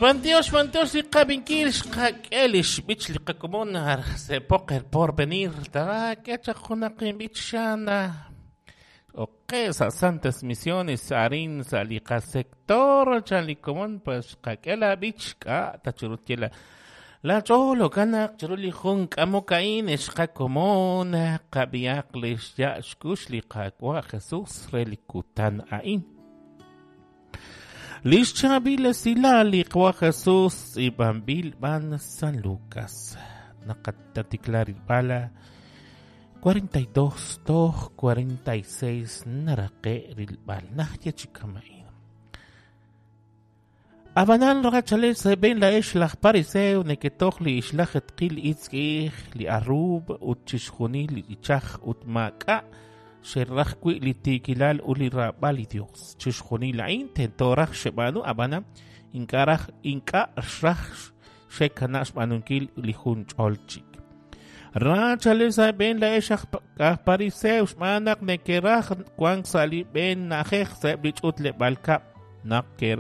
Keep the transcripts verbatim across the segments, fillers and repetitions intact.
B'antiox, b'antiox li qab'inkil xqak'e li xb'ich li qakomon sepoq el porvenir taak'e chaq junaq inb'ich xana oqe sa' Santas Misiones arin sa' li qasector chan li komon pues xqak'e la b'ich k'a tachurut ye la la ch'ool okanaq chiru li jun k'amok a'in xqakomon qab'iaq li xya' xkux li Qaawa' Jesus re li kutan a'in. Lix chaab'il esilal li Qaawa' Jesus tz'iib'anb'il b'an San Lucas. Naqatatiklar b'ala cuarenta y dos toj cuarenta y seis naraqe rilb'al najye chi kama'in. Abanal rachale seben la ex laj pariseo neketoj li ixlaj etqil itzk'ij li arrub ut chixjunil li ichaj ut maak'a' xeraj wi' li tiikilal ut li raab'al li Dios. Chixjunil a'in tento raj xeb'aanu ab'ana ink'a' raj ink'a' xraj xekana' xb'aanunkil li jun ch'ol chik. Rachale seben la ex aj pariseo xb'aan naq nekeraj wank sa' li b'een na'ajej sa'eb' li ch'utleb'aal kab' naq ker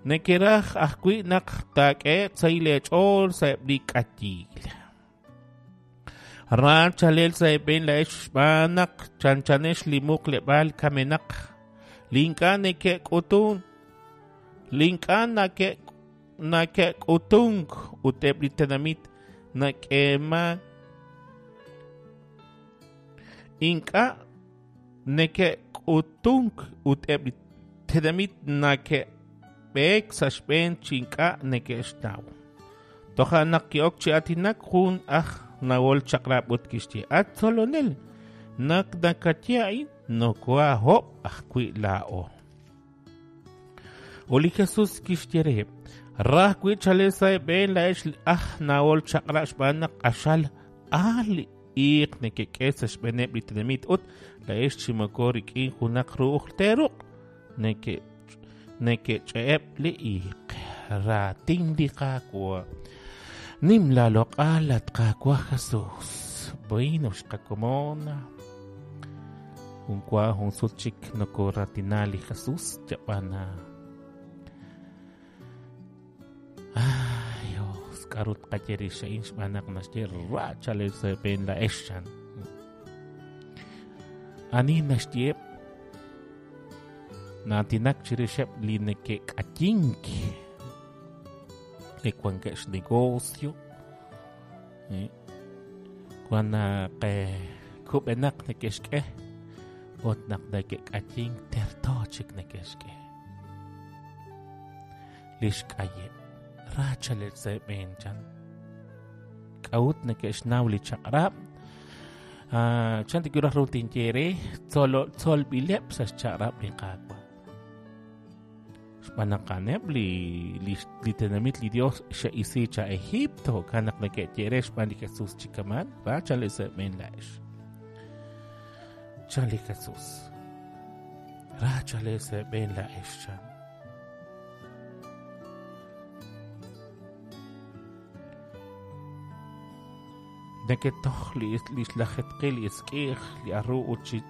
nekeraj ajwi' naq taak'e'q sa' leech'ool sa'eb' li k'ayiil. Rachalel sa'eb' la ex xb'aan naq chanchanex li muqleb'aal kamenaq li ink'a' neke'k'utun li ink'a' nake' nake'k'utunk ut eb' li tenamit nak'eema ink'a' neke'k'utunk ut eb' li tenamit nake'b'eek sa' xb'een chi ink'a' neke'xtaw. Toja' naq ki'ok chi aatinak jun aj nawol chaq'rab' ut kixye at tzolonel naq nakaye a'in nokoahob' ajwi' laa'o. Ut li Jesus kixye reheb' raj wi' chale sa'eb' la ex aj nawol chaq'rab' xb'aan naq q'axal aal li iiq nekek'e sa' xb'eeneb' li tenamit ut la ex chi moko rik'in junaq ru'uj teeruq' neke nekech'e'eb' li iiq. Raatin li Qaawa'. Nim la loq'al at Qaawa' Jesus. Bueno, xqakomon. Jun wa jun sut chik nokoratina li Jesus yab'ana. Ay, Dios, k'aru tqaye rix a'in xb'aan naq naxye rachale sa'eb' la ex chan. Ani naxye naatinak chirixeb' li neke'k'ayink li wankeb' xnegocio wan naq kub'enaq neke'xk'e ut naq neke'k'ayink terto chik neke'xk'e li xk'ayeb' rachalel sa'eb' chan k'a'ut neke'xnaw li chaq'rab' chan tikuraj ru tinye re tzolb'ileb' sa' xchaq'rab' li Qaawa' xb'aan naq a'aneb' li li tenamit li Dios xe'isi cha Egipto jo'kan naq neke'ye re xb'aan li Jesus chi kaman rachalel sa'eb' la'ex chan li Jesus rachalel sa'eb' la'ex chan. Neketoj li xlajetqil li itzk'ij li arru ut chi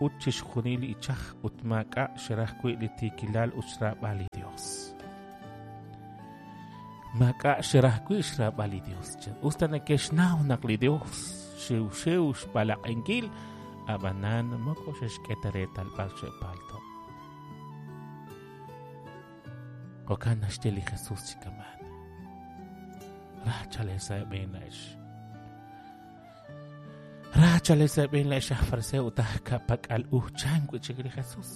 ut chixjunil li ichaj ut maak'a' xeraj wi' li tiikilal ut xraab'al li Dios. Maak'a' xeraj wi' xraab'al li Dios. Usta neke'xnaw naq li Dios xiwxiw xb'alaq'enkil ab'anan moko xexk'e ta reetal b'ar xe'palto'. Jo'kan naxye li Jesus chi kaman. Rachalel sa'eb' la'ex. Rachale sa'eb' la'ex aj fariseo ut aj ka'pak'al u chan wi' chik li Jesus.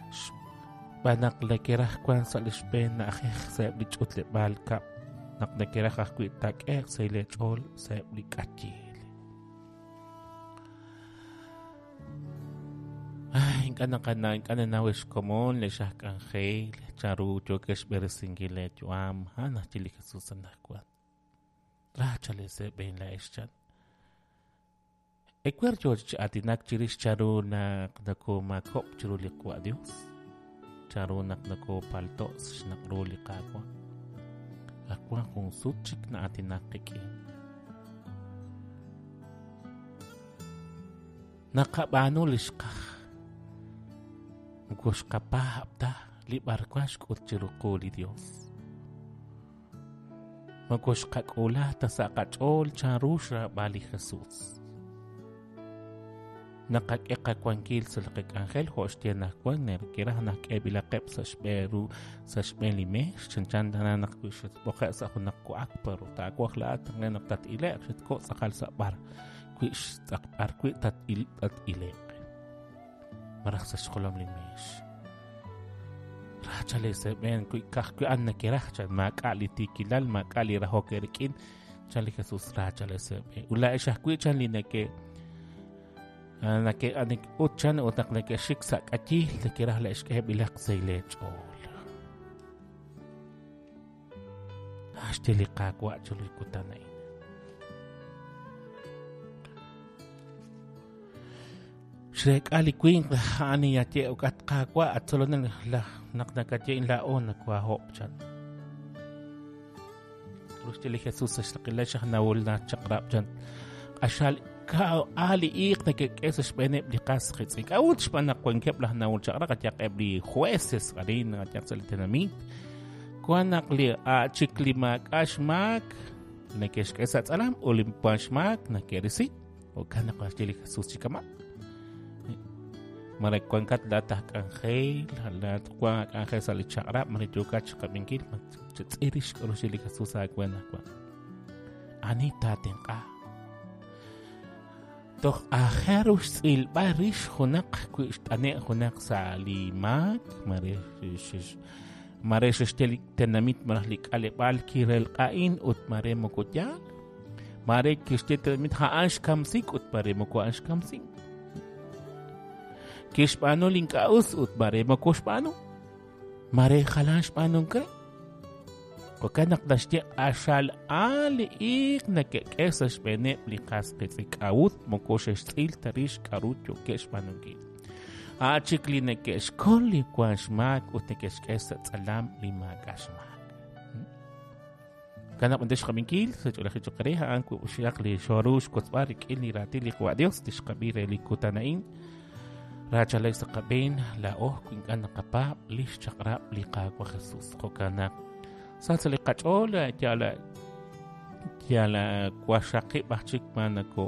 Xb'aan naq nekeraj wank sa' li xb'een na'ajej sa'eb' li ch'utleb'aal kab' naq nekeraj ajwi' taak'e'q sa' leech'ool sa'eb' li k'ayiil. Ay, ink'a' naqana ink'a' nanaw xkomon lex aj k'anjel chanru yookex xb'eresinkil leeyu'am a'an naxye li Jesus anaqwan. Rachale sa'eb' la'ex chan. Ewer yoo chi aatinak chirix chanru naq nokomaakok' chiru li Qaawa' Dios, chanru naq nokopalto' xnaq' ru li Qaawa'. Ak wan jun sut chik na'aatinak qik'in. Naqab'aanu li xqaj. Moko xqapaab' ta li b'arwan xk'ut chiru qu li Dios. Moko xqak'ula ta sa' qach'ool chanru xraab'al li Jesus. Naqak'e qawankil sa' li qak'anjel jo' xye naq wan nerkiraj naq k'eeb'ilaqeb' sa' xb'een ru sa' xb'een li meex chanchan tana naq wi xatb'oqe' sa' junaq wa'ak pero taawaj laa'at naq tat-ile'q xatko' tz'aqal sa' b'ar wi xtz'aq b'ar wi tat-ile'q maraj sa' xjolom li meex. Rachale seb'een wi ka'ajwi' an nakiraj chan maak'a' li tiikilal maak'a' li rahok rik'in chan li Jesus rachale seb'een. Ut laa'ex ajwi' chan li neke nake ut chan ut naq neke'xik sa' k'ayil nekiraj la'ex k'eeb'ilaq sa' leech'ool. Axte li Qaawa' chiru li kutan a'in. Xreek'a li winq a'an yaye at Qaawa' at tzolonel naq nakaye laa'o nawahob' chan. Ruxte li Jesus sa' xraqilal xajnawul nachaq'rab' chan. Q'axal ali iiq nekek'e sa' xb'eeneb' li qas qitz'in. K'a'ut xb'aan naq wankeb' laj nawul chaq'rab' qayaq eb' li jueces arin qayaq sa' li tenamit. Wan naq li chik li maak'a' xmaak neke'xk'e sa' tz'alam ut li wan xmaak neke'risi. Jo'kan naq naxye li Jesus chi kama'. Mare wankat laat aj k'anjel, laat wan k'anjel sa' li chaq'rab', mare yookat chiqab'inkil, chatz'irix k'aru xye li Jesus aawe naq wan. Ani taatenq'a? Toj aajel ru xtz'ilb'al rix junaq wi xt'ane' junaq sa' li maak, mare mare xexye li tenamit maraj li k'aleb'aal kirelq'a'in ut mare moko yaal. Mare kixye tenamit a'an xkamsik ut mare moko a'an xkamsik. Kixb'aanu li ink'a' us ut mare moko xb'aanu. Mare jalan xb'aanunk re. Jo'kan naq naxye q'axal li iiq neke'k'e sa' xb'eeneb' li qas qitz'in k'a'ut moko xe'xtz'il ta rix k'a'ru yookeb' xb'aanunkil. A' chik li neke'xkol li wan xmaak ut neke'xk'e sa' tz'alam li maak'a' xmaak. Kanab' ante xqab'inkil sa' ch'oolej choq' re a'an xaq li xoru xkotzb'al rik'in li raatin li Qaawa' Dios tixqab'i re li kutan a'in. Rachalek sa' qab'een laa'o ink'a' naqapaab' li xchaq'rab' li Qaawa' Jesus. Jo'kan naq sa' li qach'ool yal yal waxaqib' aj chik ma nako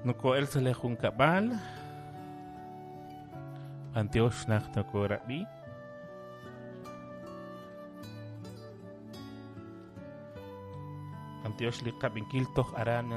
noko'el sa' li junkab'al b'antiox naq nokorab'i. B'antiox li qab'inkil toj aran